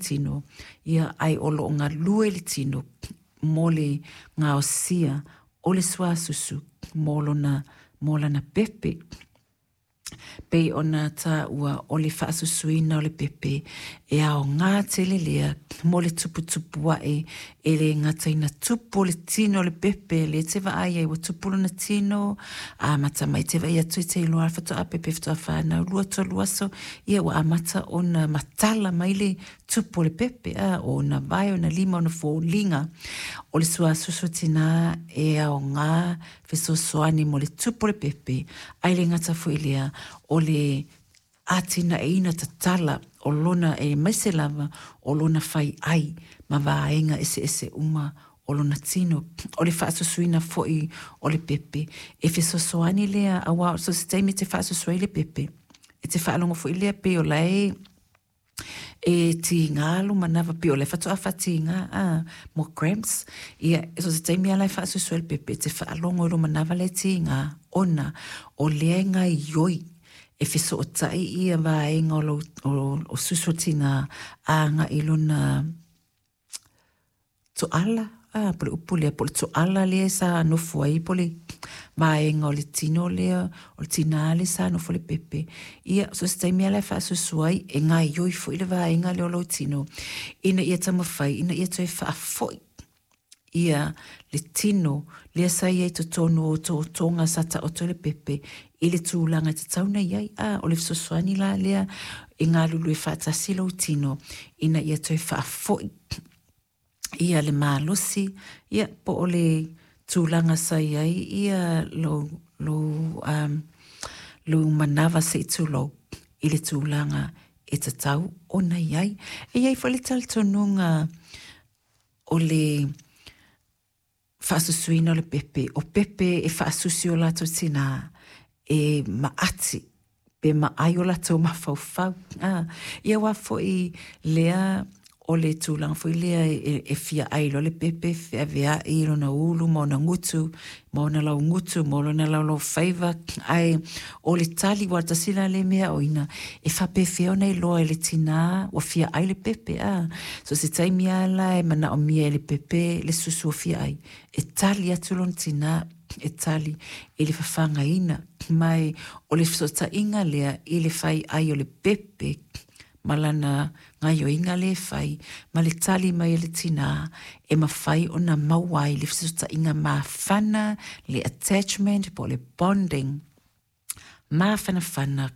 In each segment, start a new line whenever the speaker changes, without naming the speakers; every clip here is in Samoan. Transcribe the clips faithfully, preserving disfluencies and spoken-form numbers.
tino, ia ae o loo galue le tino mo le gaosia o le suasusu mo lona mo lana pepe. Pei ona taua o le faasusuina o le pepe e aogā tele lea mo le tuputupu ae, e le gata ina tupu le tino o le pepe lea e te vaai ai ua tupu lona tino, amata mai te vaai atu e te iloa faatoa pepe faatoa fanau lua tolu aso, ia ua amata ona matala mai le tupu o le pepe, a o ona vae, ona lima, ona foliga. O le suasusu tinā e aogā fesoasoani mo le tupu o le pepe, ae le gata foi lea o le atinaeina tatala o lona e maise lava o lona fai ai ma vaega eseese uma o lona tino. O le faasusuina foi o le pepe e fesoasoani lea, auā so se taimi e te faasusu ai le pepe e te faalogo foi lea pei o lae e tigā lo manava pei o le faatoa faatigā a mo cramps. Ia so se taimi ala e faasusu ai le pepe e te faalogo i lo manava le tigā ona o lea e gaioi e fesootai ia vaega o, lo, o, o susu tinā aga'i lona toala a po le upu lea po le toala lea sa nofo ai po le vaega o le tino lea o le tinā le sa nofo le pepe. Ia so se taimi ala e faasusu ai e gaioi foi le vaega lea o lou tino ina ia taumafai ina ia toe faafoi ia le tino lea sa iai totonu o totoga sa taoto le pepe i le tulaga e tatau ona iai. A o le fesoasoani la lea e galulue faatasi lou tino ina ia toe faafoi ia le malosi ia po o le tulaga sa iai ia lou lou um, lou manava se'i tulou i le tulaga e tatau ona iai. E iai foi le talitonuga o le faasusuina o le pepe, o pepe e faasusu o latou tinā e maati pe maai o latou mafaufau. A ia uā foi lea o le tulaga foi lea e, e fia ai loa le pepe feavea'i lona ulu ma ona gutu ma ona laugutu ma lona laulaufaiva, ae o le tali ua tasi la le mea oina e faapefea ona iloa e le tinā ua fia ai le pepe. A so se taimi ala e manaomia e le pepe le susu o fia ai e tali atu lona tinā e tali i le fafagaina mai o le fesootaiga lea i le fai ai o le pepe ma lana gaioiga le fai ma le tali mai e le tinā e mafai ona maua ai le fesootaiga mafana, le attachment po o le bonding mafanafana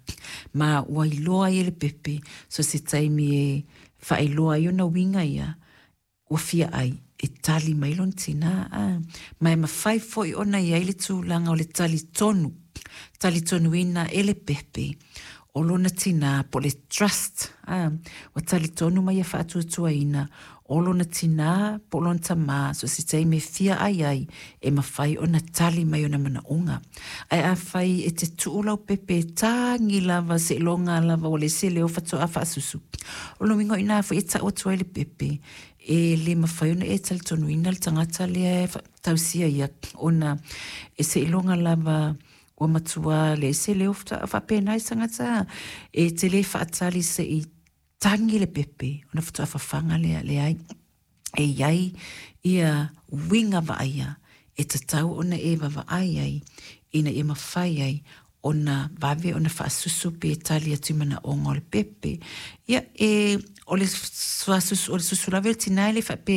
ma ua iloa ai e le pepe so se taimi e faailoa ai ona uiga ia ua fia ai e tali mai lona tinā. A ma e mafai foi ona iai le tulaga o le talitonu talitonuina e le pepe o lona tinā po le trust. A ua talitonu mai ia faatuatuaina o lona tinā po lona tamā so se taimi e fia ai ai e mafai ona tali mai ona manaoga. Ae afai e te tuu lau pepe e tagi lava seiloga lava ua le se leo faatoa faasusu, o lona uiga o inā foi e tau atu ai le pepe e le mafai ona e talitonuina le tagata lea e tausia ia ona e seiloga lava ua matuā le se leo faapena i tagata e te lē faatali se'i tagi le pepe ona faatoa fafaga lea. Leai, e iai ia uiga vaaia e tatau ona e vavaai ai ina ia mafai ai ona vave ona faasusu pe tali atu i manaoga o le pepe. Ia e o le suasusu o le susu lava o le tinā e le faape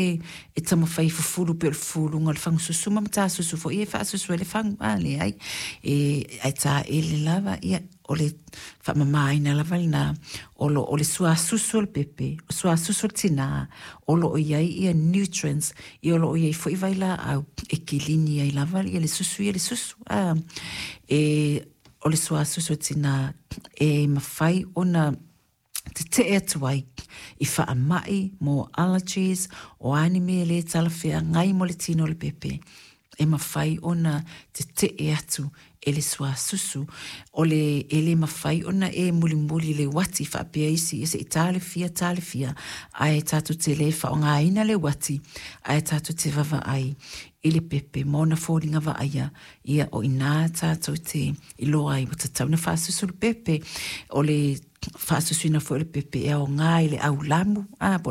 e taumafai fufulu pe o le fufuluga o le fagususu ma matasusu foi e faasusu ai le fagu. A leai e ae taele lava ia o le faamamāina lava lenā o lo o le suasusu o le pepe o suasusu o le tinā o loo iai ia nutrients ia o loo iai foi vailaau e kilini ai lava ia le susu ia le susu. A e o le suasusu o tinā e mafai ona tetee atu ai i faamai mo allergies o a ni mea e lē talafeagai mo le tino o le pepe e mafai ona tetee atu e le suasusu o le e lē mafai ona e mulimuli le uati faapea isi e se'i talefia talefia ae tatou te lē faaaogāina le uati ae tatou te vavaai i le pepe ma ona foliga vaaia ia o inā tatou te iloa ai ua tatau ona faasusu le pepe. O le faasusuina foi o le pepe e aogā i le aulamu a po